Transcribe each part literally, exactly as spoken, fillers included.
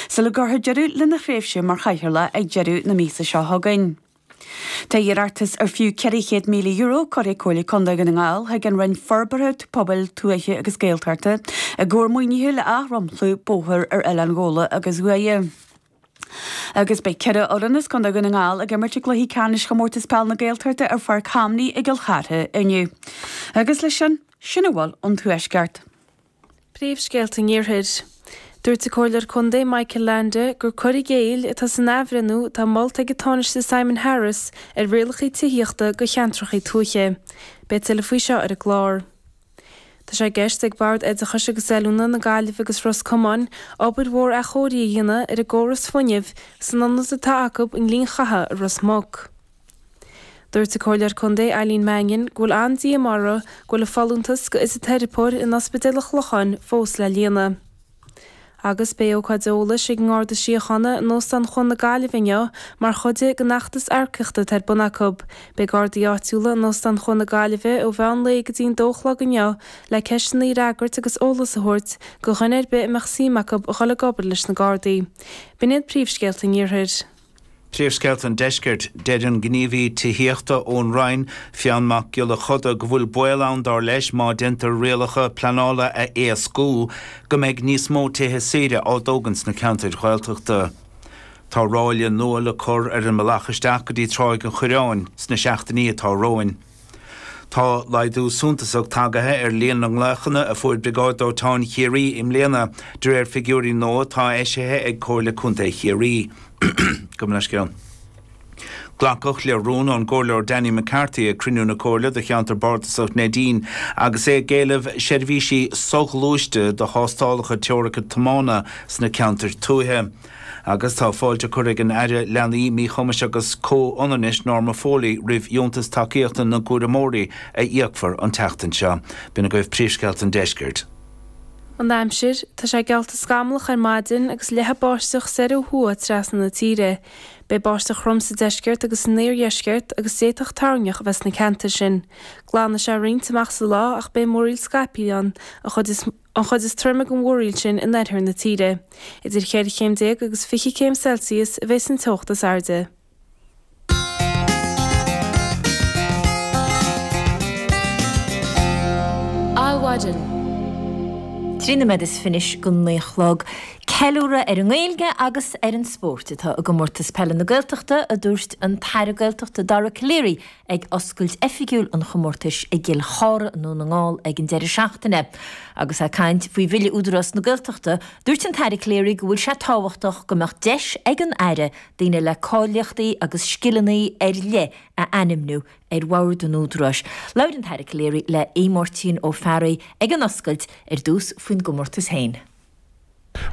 sula gcuirfear deireadh lena thréimhse mar chathaoirleach ag deireadh na míosa seo chugainn. Tá iarratas ar fiú ceithre chéad míle euro curtha ag Comhairle Contae Dhún na nGall chuig an Roinn Forbartha Pobail Tuaithe agus Gaeltachta i gcomhair maoinithe le athdhromchlú bóthair ar Oileán Ghabhla agus Ghuaire. Agus beidh ceithre fhoireann as Contae Dhún na nGall ag imirt i gcluichí ceannais Chomórtas Peile na Gaeltachta ar Pháirc Hamney i gCill Chartha inniu. Agus leis sin, sin a bhfuil ón Tuaisceart. Príomhscéalta an Iarthair. Dúirt an Comhairleoir Contae Michael Leainde gur cur i gcéill atá san athbhreithniú atá molta ag an Tánaiste Simon Harris ar rialacha tithíochta do cheantracha tuaithe. Beidh tuilleadh faoi seo ar an gclár. Tá sé i gceist ag Bord Oideachais agus Oiliúna na Gaillimhe agus Ros Comáin obair mhór athchóirithe a dhéanamh ar an gcóras fuinnimh san ionad atá acu i nGleann Chatha i Ros Muc. Dúirt an Comhairleoir Contae Eileen Mannion go bhfuil an-díomá uirthi go bhfuil an folúntas do fhisiteiripeoir in Ospidéal an Chlocháin fós le líonadh. Agus beidh ócáid eolais ag an nGarda Síochána in Óstán Chuan na Gaillimhe inniu mar chuid den fheachtas earcaíochta atá ar bun acu. Beidh Gardaí áitiúla in Óstán Chuan na Gaillimhe ó mheán lae go dtí an dó a chlog inniu le ceisteanna a fhreagairt agus eolas a thabhairt do dhuine ar bith a mbeadh suim acu a dhul ag obair leis na Gardaí. B'in iad príomhscéalta an Iarthair. Príomhscéalta an Deiscirt, deir an gníomhaí tithíochta ón Roinn, Fionn Mac Giolla Choda, go bhfuil baol ann dar leis má déantar rialacha pleanála a éascú go mbeidh níos mó tithe saoire á dtógaint sna ceantair Ghaeltachta. Tá ráille nua le cur ar an mbealach isteach go dtí Tráigh an Choireáin sna seachtainí atá romhainn. Tá laghdú suntasach tagaithe ar líon na nglaochanna a fuair Briogáid Dóiteáin Chiarraí i mbliana, de réir figiúirí nua atá eisithe ag Comhairle Contae Chiarraí. Gabh mo leithscéal. Glacadh le rún ón gComhairleoir Danny McCarthy ag cruinniú na Comhairle do cheantar bardasach Neidín agus é ag éileamh seirbhísí soghluaiste do thástálacha teorice tiomána sna ceantair tuaithe. Agus tá fáilte curtha ag an Aire Leanaí, Míchumais agus Comhionannais Norma Foley roimh dheontas tacaíochta na gcúramóirí a íocfar an tseachtain seo. B'in agaibh príomhscéalta an deiscirt. An aimsir, tá sé geallta scamallach ar maidin agus leathadh báisteach soir ó thuaidh trasna na tíre. Beidh báisteach throm sa deisceart agus san iardheisceart agus d'fhéadfadh toirneach a bheith sna ceantair sin. Glanfaidh sé roinnt amach sa lá ach beidh múraíl scaipthe ann, an chuid is an chuid is troime den mhúraíl sin in oirthear na tíre. Idir cheithre chéim déag agus fiche céim Celsius a bheidh an teocht is airde. Adhmhaidin. Trí nóiméad is fiche go naoi a chlog. Ceiliúradh ar an nGaeilge agus ar an spórt atá i gcomórtas peile na Gaeltachta, a dúirt an tAire Gaeltachta Dara Calleary ag oscailt oifigiúil an chomórtais i gCill Chartha i nDún na nGall ag an deireadh seachtaine. Agus é ag caint faoi Bhille Údarás na Gaeltachta, dúirt an tAire Calleary go bhfuil sé tábhachtach go mbeadh deis ag an Aire daoine le cáilíochtaí agus scileanna ar leith a ainmniú ar bhord an Údaráis. Labhair an tAire Calleary le Aodh Máirtín Ó Fearraigh ag an oscailt ar dtús faoin gcomórtas féin.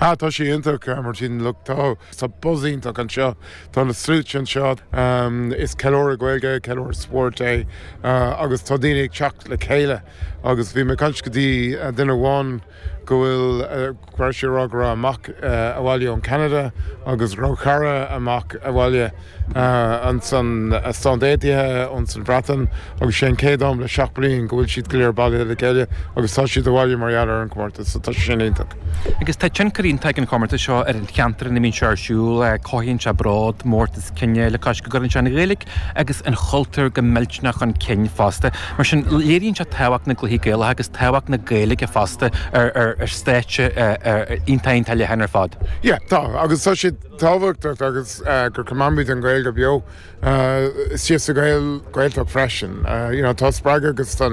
Ah, tá sé iontach, Martin, look, tá tá buzz iontach anseo, tá na sluaite anseo, um, is ceiliúradh Gaeilge, ceiliúradh spóirt é, uh, agus tá daoine ag teacht le chéile agus bhí mé ag caint go dtí uh, duine amháin go bhfuil uh, go raibh sé ag rá go raibh a mhac uh, abhaile ón Canada agus go raibh cara amach abhaile uh, ansan uh, Stáit Aontaithe ón Bhreatain agus sé an chéad am le seacht bliain go bhfuil siad go léir bailithe le chéile agus tá siad abhaile mar gheall ar an comórtas, so tá sé sin iontach. Agus tá tionchar iontach ag an chomórtas seo ar an cheantar ina mbíonn sé ar siúl, cothaíonn sé bród, mórtas cine le cois go gcuireann sé an Ghaeilge agus an chultúr go millteanach chun cinn fosta. Mar sin léiríonn sé tábhacht na gcluichí Gaelacha agus tábhacht na Gaeilge fosta ar ar ar stáitse iontach iontach leathan ar fad. Yeah, tá agus tá sé tábhachtach agus uh, gur coimeádfaimid an Ghaeilge beo uh, istigh sa Ghael Gaeltacht freisin. Uh, you know, tá spreagadh agus tá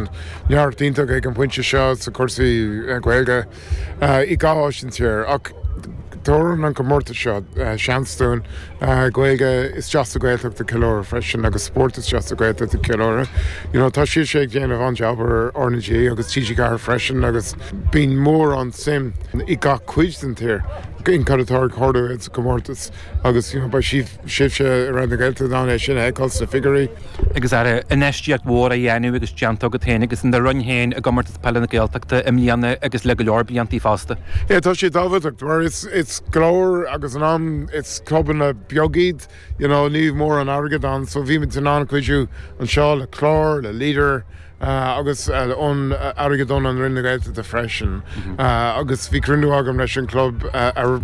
neart iontach ag an bpointe seo sa cúrsaí uh, Gaeilge uh, i gach áit sa tír ach tugann an comórtas seo uh, seans dúinn uh, Gaeilge isteach sa Ghaeltacht a cheiliúradh freisin agus spórt isteach sa Ghaeltacht a cheiliúradh. You know, tá siad sé ag déanamh an-jab ar RnaG agus T G Ceathair freisin agus bíonn mórán suim i gach cuid den tír in cad atá ag tarlú sa comórtas agus you know, beidh sibh sibhse i Raidió na Gaeltachta in ann é sin a fheiceáil sna figiúirí. Agus ar infheistíocht mhór a dhéanamh agus déanta agat féin agus in do roinn féin i gcomórtas peile na Gaeltachta i mbliana agus le go leor blianta fosta. Yeah, tá sé tábhachtach mar it's it's glór agus an am it's clubanna beaga iad, you know, ní mórán airgead ann, so bhí muid in ann cuidiú anseo le clár, le Leader, agus ón airgead ón an Roinn na Gaeltachta freisin. Agus bhí cruinniú agam leis an club ar